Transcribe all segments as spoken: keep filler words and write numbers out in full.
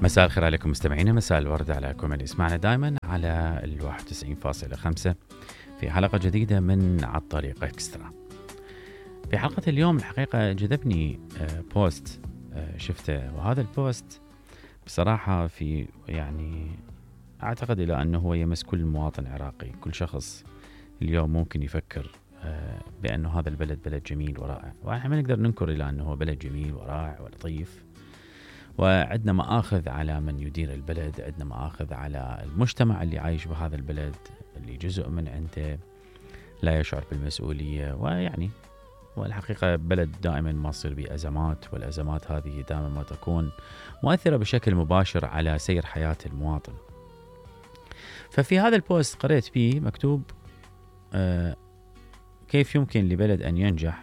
مساء الخير عليكم مستمعينا، مساء الورد عليكم اللي يسمعنا دائما على الواحد وتسعين فاصلة خمسة في حلقة جديدة من على الطريق اكسترا. في حلقة اليوم الحقيقة جذبني بوست شفته، وهذا البوست بصراحة في يعني أعتقد إلى أنه هو يمس كل مواطن عراقي. كل شخص اليوم ممكن يفكر بأنه هذا البلد بلد جميل ورائع، وإحنا ما نقدر ننكر إلى أنه هو بلد جميل ورائع ولطيف، وعندنا مآخذ على من يدير البلد، عندنا مآخذ على المجتمع اللي عايش بهذا البلد، اللي جزء من عنده لا يشعر بالمسؤولية. ويعني والحقيقة بلد دائما ما تصير به أزمات، والأزمات هذه دائما ما تكون مؤثرة بشكل مباشر على سير حياة المواطن. ففي هذا البوست قرأت فيه مكتوب آه كيف يمكن لبلد أن ينجح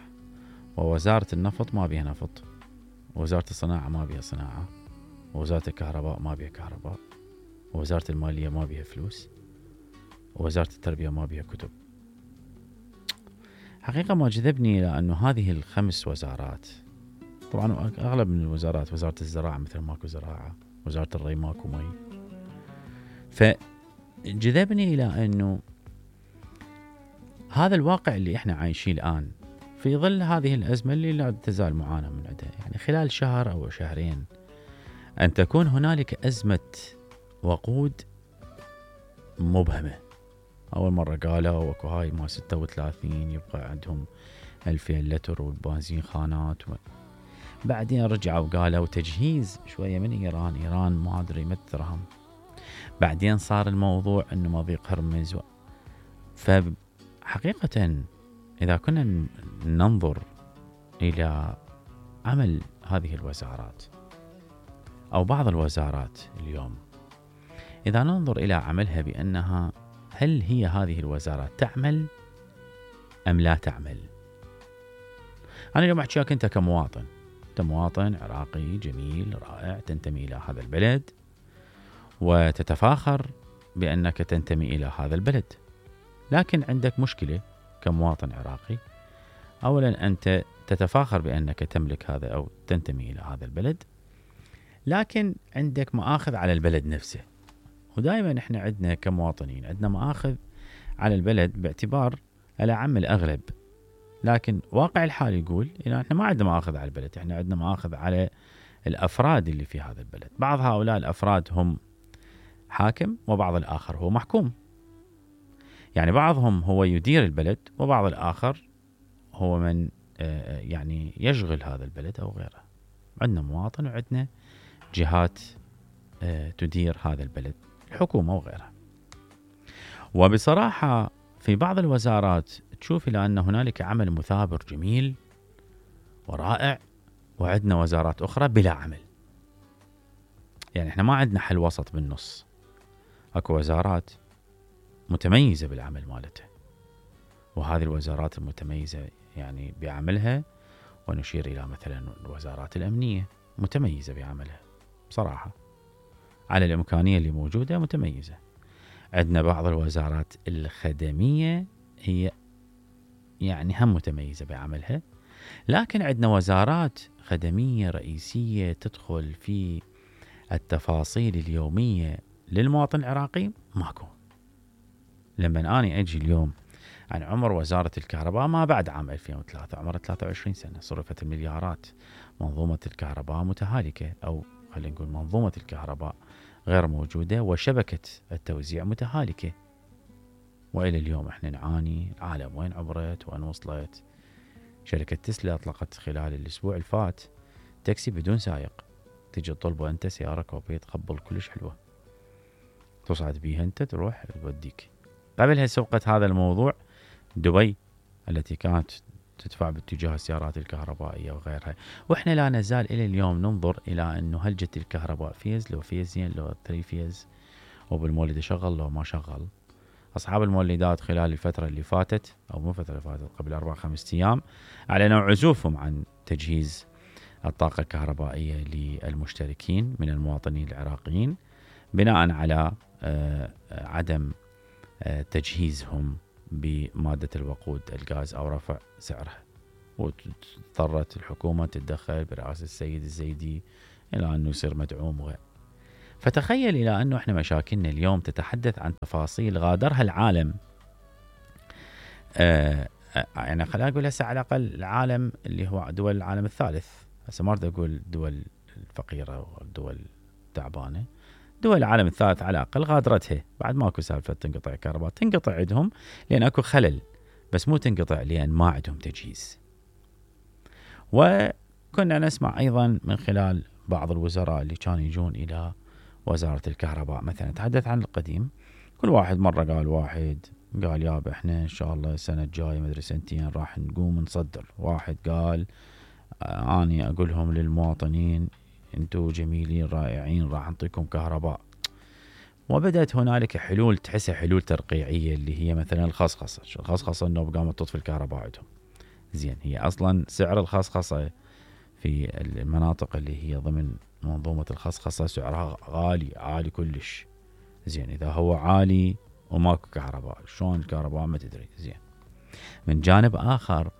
ووزارة النفط ما بها نفط، ووزارة الصناعة ما بها صناعة، ووزارة الكهرباء ما بها كهرباء، ووزارة المالية ما بها فلوس، ووزارة التربية ما بها كتب. حقيقة ما جذبني لأنه هذه الخمس وزارات، طبعا أغلب من الوزارات، وزارة الزراعة مثل ماكو زراعة، وزارة الري ماكو مي. فجذبني إلى أنه هذا الواقع اللي إحنا عايشين الآن في ظل هذه الأزمة اللي لا تزال معانا من عندها، يعني خلال شهر أو شهرين أن تكون هنالك أزمة وقود مبهمة. أول مرة قالوا وكو هاي ما ستة وثلاثين يبقى عندهم ألفين لتر والبنزين خانات و... بعدين رجعوا قالوا تجهيز شوية من إيران، إيران ما أدري مترهم. بعدين صار الموضوع أنه مضيق هرمز و... فحقيقة إذا كنا ننظر إلى عمل هذه الوزارات أو بعض الوزارات اليوم، إذا ننظر إلى عملها بأنها هل هي هذه الوزارات تعمل أم لا تعمل؟ أنا اليوم أحكيك أنت كمواطن، أنت مواطن عراقي جميل رائع تنتمي إلى هذا البلد وتتفاخر بأنك تنتمي إلى هذا البلد، لكن عندك مشكلة كمواطن عراقي. أولا أنت تتفاخر بأنك تملك هذا أو تنتمي إلى هذا البلد، لكن عندك مآخذ على البلد نفسه. ودائما احنا عندنا كمواطنين عندنا مآخذ على البلد باعتبار الأعم الأغلب، لكن واقع الحال يقول إن احنا ما عندنا مآخذ على البلد، احنا عندنا مآخذ على الأفراد اللي في هذا البلد. بعض هؤلاء الأفراد هم حاكم وبعض الآخر هو محكوم، يعني بعضهم هو يدير البلد وبعض الآخر هو من يعني يشغل هذا البلد أو غيره. عندنا مواطن وعندنا جهات تدير هذا البلد، الحكومة وغيرها. وبصراحة في بعض الوزارات تشوف إلى أن هنالك عمل مثابر جميل ورائع، وعندنا وزارات أخرى بلا عمل. يعني احنا ما عندنا حل وسط بالنص. اكو وزارات متميزة بالعمل مالتها، وهذه الوزارات المتميزة يعني بعملها، ونشير إلى مثلا الوزارات الأمنية متميزة بعملها بصراحة، على الإمكانية اللي موجودة متميزة. عندنا بعض الوزارات الخدمية هي يعني هم متميزة بعملها، لكن عندنا وزارات خدمية رئيسية تدخل في التفاصيل اليومية للمواطن العراقي ماكو. لما أنا أجي اليوم عن عمر وزارة الكهرباء ما بعد عام ألفين وثلاثة، عمر ثلاثة وعشرين سنة، صرفت المليارات، منظومة الكهرباء متهالكة، أو خلينا نقول منظومة الكهرباء غير موجودة، وشبكة التوزيع متهالكة. وإلى اليوم احنا نعاني. العالم وين عبرت وين وصلت؟ شركة تسلا أطلقت خلال الأسبوع الفات تاكسي بدون سائق، تجي تطلبه أنت سيارة كوبية تقبل كلش حلوة، تصعد بيها أنت تروح توديك. قبلها سوقت هذا الموضوع دبي التي كانت تدفع باتجاه السيارات الكهربائية وغيرها. وإحنا لا نزال إلى اليوم ننظر إلى أنه هل جت الكهرباء فيز لو فيزين لو ثري فيز، وبالمولد شغل لو ما شغل. أصحاب المولدات خلال الفترة اللي فاتت، أو مو فترة فاتت، قبل أربع خمس أيام، أعلنوا عزوفهم عن تجهيز الطاقة الكهربائية للمشتركين من المواطنين العراقيين، بناء على عدم تجهيزهم بمادة الوقود الغاز أو رفع سعرها. واضطرت الحكومة تتدخل برئاسة السيد الزيدي إلى أنه يصير مدعوم. فتخيل إلى أنه إحنا مشاكلنا اليوم تتحدث عن تفاصيل غادرها العالم. آه يعني خلينا نقول هسه على الأقل العالم اللي هو دول العالم الثالث، هسه ما أريد أقول الدول الفقيرة والدول التعبانة، دول العالم الثالث على الأقل غادرتها، بعد ماكو سالفة تنقطع الكهرباء، تنقطع عندهم لأن أكو خلل، بس مو تنقطع لأن ما عندهم تجهيز. وكنا نسمع أيضا من خلال بعض الوزراء اللي كانوا يجون إلى وزارة الكهرباء مثلا، تحدث عن القديم، كل واحد مرة قال واحد قال يابا احنا ان شاء الله السنة الجاية مدري سنتين راح نقوم نصدر، واحد قال آه اني اقولهم للمواطنين انتو جميلين رائعين راح نعطيكم كهرباء. وبدأت هنالك حلول تحسها حلول ترقيعية اللي هي مثلا الخصخصة، الخصخصة انه قامت تطفي الكهرباء عندهم. زين هي اصلا سعر الخصخصة في المناطق اللي هي ضمن منظومة الخصخصة سعرها غالي عالي كلش. زين اذا هو عالي وماكو كهرباء شلون الكهرباء ما تدري. زين من جانب اخر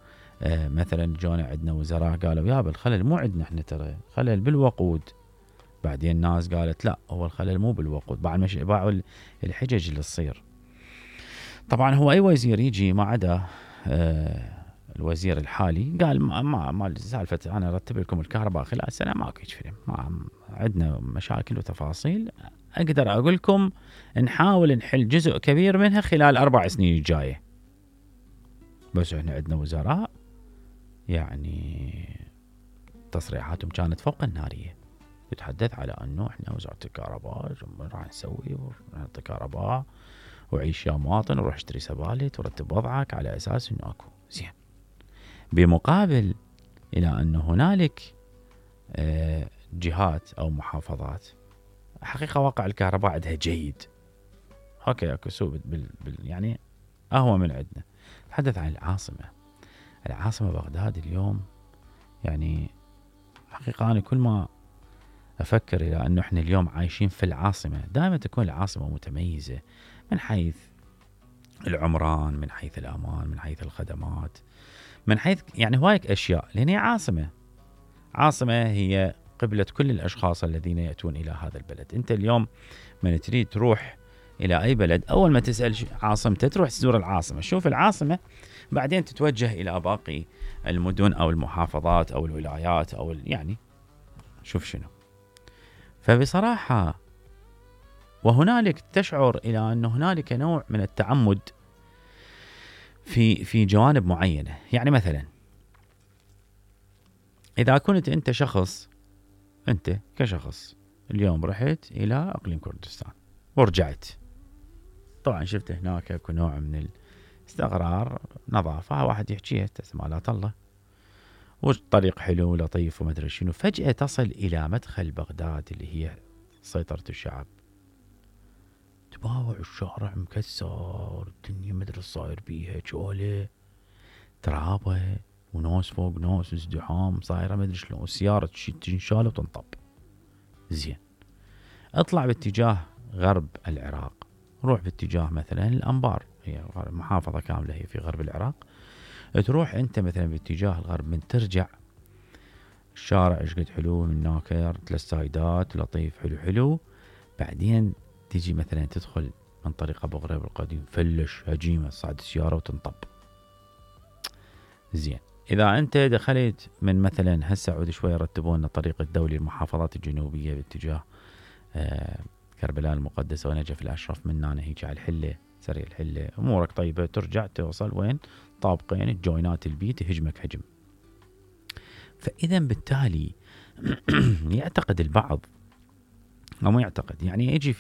آه مثلا جونا عندنا وزراء قالوا يابا الخلل مو عندنا احنا ترى، خلل بالوقود. بعدين الناس قالت لا هو الخلل مو بالوقود، بعد مش باعوا الحجج اللي تصير. طبعا هو اي وزير يجي ما عدا آه الوزير الحالي قال ما ما, ما سالفه انا ارتب لكم الكهرباء خلال سنه، ماكو هيك فيلم، ما عندنا مشاكل وتفاصيل، اقدر اقول لكم نحاول نحل جزء كبير منها خلال اربع سنين الجايه. بس احنا عندنا وزراء يعني تصريحاتهم كانت فوق الناريه، يتحدث على انه احنا وزاره الكهرباء راح نسوي ونعطي كهرباء وعيش يا مواطن وروح اشتري سبالت ورتب وضعك على اساس انه اكو. زين بمقابل الى انه هنالك اه جهات او محافظات حقيقه واقع الكهرباء عندها جيد، اوكي اكو سوء بال بال يعني اهوى من عندنا. تحدث عن العاصمه، العاصمه بغداد اليوم يعني حقيقه انا كل ما افكر الى انه احنا اليوم عايشين في العاصمه، دائما تكون العاصمه متميزه من حيث العمران، من حيث الامان، من حيث الخدمات، من حيث يعني هوايك اشياء، لان هي عاصمه. عاصمه هي قبلة كل الاشخاص الذين ياتون الى هذا البلد. انت اليوم من تريد تروح الى اي بلد اول ما تسال عاصمته تروح تزور العاصمه، شوف العاصمه، بعدين تتوجه الى باقي المدن او المحافظات او الولايات او يعني شوف شنو. فبصراحه وهنالك تشعر الى ان هنالك نوع من التعمد في في جوانب معينه. يعني مثلا اذا كنت انت شخص، انت كشخص اليوم رحت الى اقليم كردستان ورجعت، طبعا شفت هناك اكو نوع من الاستقرار، نظافه، واحد يحكيها تسمالات الله والطريق حلو لطيف وما ادري شنو، فجاه تصل الى مدخل بغداد اللي هي سيطره الشعب، تباوع الشارع مكسر، الدنيا ما ادري صاير بيها شغله، ترابه وناس فوق ناس، ازدحام صايره ما ادري شلون، السياره تنشال وتنطب. زين اطلع باتجاه غرب العراق، روح باتجاه مثلا الانبار، هي محافظه كامله هي في غرب العراق، تروح انت مثلا باتجاه الغرب، من ترجع الشارع ايش قد حلو، من ناكر ثلاث سايدات لطيف حلو حلو، بعدين تيجي مثلا تدخل من طريق ابو غريب القديم، فلش هجيمه صعد السياره وتنطب. زين اذا انت دخلت من مثلا هسه عود شوي رتبوا لنا طريق الدولي المحافظات الجنوبيه باتجاه آه كربلاء المقدسه ونجف الاشرف، من هنا هيك على الحله سريع الحله، امورك طيبه، ترجع توصل وين؟ طابقين الجوينات البيت يهجمك هجم. فاذا بالتالي يعتقد البعض او ما يعتقد، يعني يجي